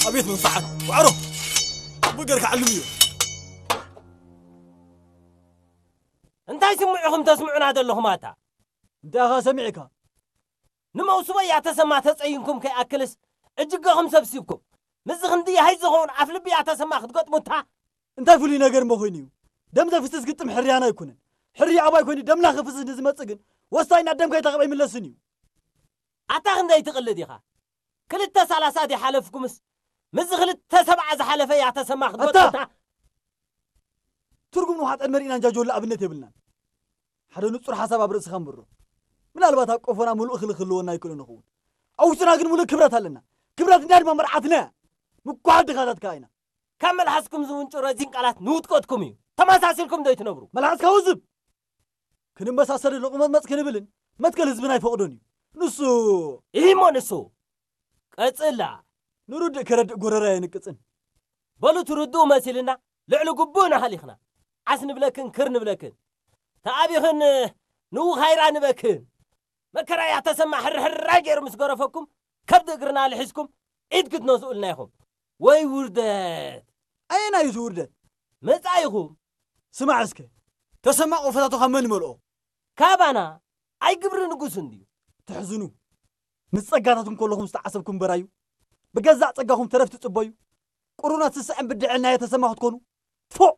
ኣቤት መንፍዓት! ዋዕሮ! ብገርካ ዓልም እዩ። እንታይ ስምዑኹም ተስምዑና ዘለኹም ኣታ? እንታይ ኢኻ ሰሚዕካ? ንመውስቦ ያተሰማ ተጸይንኩም ከይኣክልስ እጅገኹም ሰብሲብኩም ምስዚ ክንዲ ሃይ ዝኸውን ኣፍልቢ ያተሰማ ክትገጥሙታ? እንታይ ፍሉይ ነገር እሞ ኮይኑ እዩ? ደም ዘፍስስ ግጥም ሕርያና ኣይኮነን። ሕርያ ኣባይ ኮይኑ ደምና ክፍስስ ንዝመጽእ ግን ወሳኝና ደምካ ይታኸብ ኣይምለስን እዩ። ኣታ ክንደይ ትቕልድ ኢኻ? ክልተ ሰላሳ ድሓለፍኩምስ ምስዚ ክልተ ሰብዓ ዝሓለፈ ያተሰማ ክትገጥሙታ? ትርጉም ንውሓጠን መሪእና እንጃጆላ ኣብነት የብልናን። ሓደ ንጹር ሓሳብ ኣብ ርእስኻ እምብሮ። ምናልባት ኣብ ቆፎና ምሉእ እኽሊ ክህልወና ይክእሎ ንኸውን። ኣብ ውሽጥና ግን ምሉእ ክብረት ኣለና። ክብረት እንዳ ድማ መርዓትና እያ። ምኩሓል ድኻታት ከኣ ኢና። ካብ መልሓስኩም ዝውንጩ ረዚን ቃላት ንውድቀትኩም እዩ። ተመሳሲልኩም ዶ ይትነብሩ? መልሓስካ ውዝብ! ክንመሳሰልን ንቑመጽመጽ ክንብልን መትከል ህዝብና ኣይፈቕዶን እዩ። ንሱ ኢሂሞ ንሱ ቀጽላ። ንርድእ ከረድእ ጎረራ የንቅጽን። በሉ ትርድኡ መሲልና ልዕሊ ግቡእ ንሃሊኽና። ዓስ ንብለክን ክር ንብለክን። ተኣቢኽን ንውኻይራ ንበክን። መከራ ያተሰማ ሕርሕራይ ገይሩ ምስ ገረፈኩም ከብዲ እግርና ልሒዝኩም ኢድ ክትነስኡልና ኢኹም። ወይ ውርደት! ኣየናይ እዩ እቲ ውርደት? መጻኢኹም። ስማዕ እስከ፣ ተሰማ ቆፈታቱ ካብ መን ይመልኦ? ካባና። ኣይ ግብሪ ንጉስ እንድዩ። ተሕዝኑ። ምስ ጸጋታትኩም ከለኹም ዝተዓሰብኩም በራዩ። ብገዛእ ጸጋኹም ተረፍ ትጽበዩ። ቁሩናት ስስዐን ብድዐን ናይ ተሰማ ክትኮኑ። ፎእ!